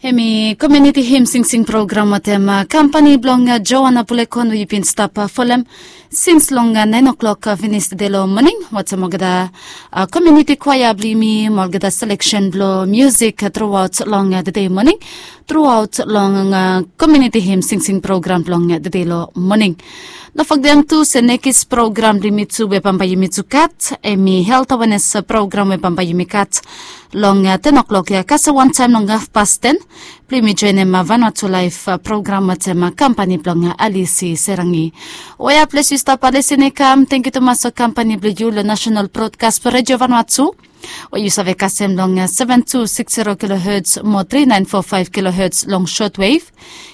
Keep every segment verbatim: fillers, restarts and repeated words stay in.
Hemi komiuniti him singsing program watem kampani blong Joana Bulekon we yu bin stap folem sins long naen o'klok finis tede long moning watem olgeta komiuniti kwaea blong yumi mo olgeta seleksen blong musik truaot long tede moning, truaot long komiuniti him singsing program blong tede long moning. No fogedem tu se nekis program blong yumi tu we bambae yumi tu gat hemi helt awenes program we bambae yumi gat long ten o'klok ya kasem wantaem long hafpas ten. Blong yumi joenem Vanuatu Laef program watem kampani blong Alisi Serangi. Oya ples yu stap lisin i kam, tangkiu tumas long kampani blong yu long Nasenal Brodkas blong Redio Vanuatu we yu save kasem long seven two six zero kilohertz mo three nine four five kilohertz long shortwave,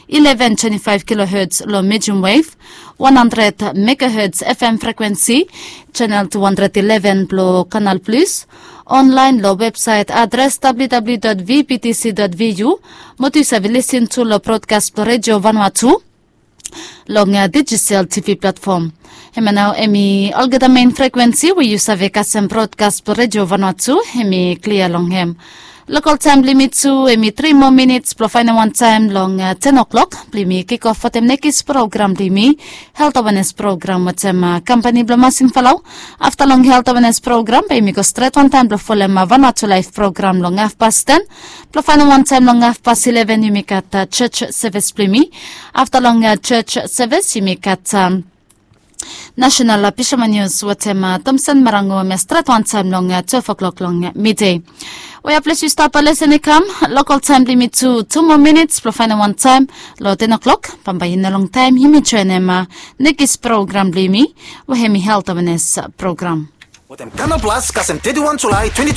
eleven twenty five kilohertz long medium wave, one hundred megahertz F M frequency, channel two hundred eleven blong Canal Plus, online long website adres www dot vbtc dot vu, mo tu yu save lisin tu long brodkas blong Redio Vanuatu long digital T V platform. Hemia nao hemi olgeta mein frequency we yu save kasem brodkas blong Redio Vanuatu, hemi klia long hem. Lokal taem blong yumi tu hemi tri moa minits blong faenem wantaem long ten o'klok blong yumi kikof wetem nekis program blong yumi, helt awenes program wetem kampani blong Masin Falau. Afta long helt awenes program bae yumi go stret wantaem blong folem Vanuatu Laef program long hafpas ten blong faenem wantaem long hafpas ileven yumi gat church sevis blong yumi. Afta long church sevis yumi gat Nasenal Pishaman Nius wetem Tomsen Marango hemia stret wantaem long twelve o'klok long midei. Oya ples yu stap lisin i kam, lokal taem blong yumi tu tu moa minits blong faenem wantaem long ten o'klok. Bambae i no longtaem yumi joenem nekis program blong yumi we hemi helt awenes program. Wetem Canal Plus kasem teti wan Julae twenty twenty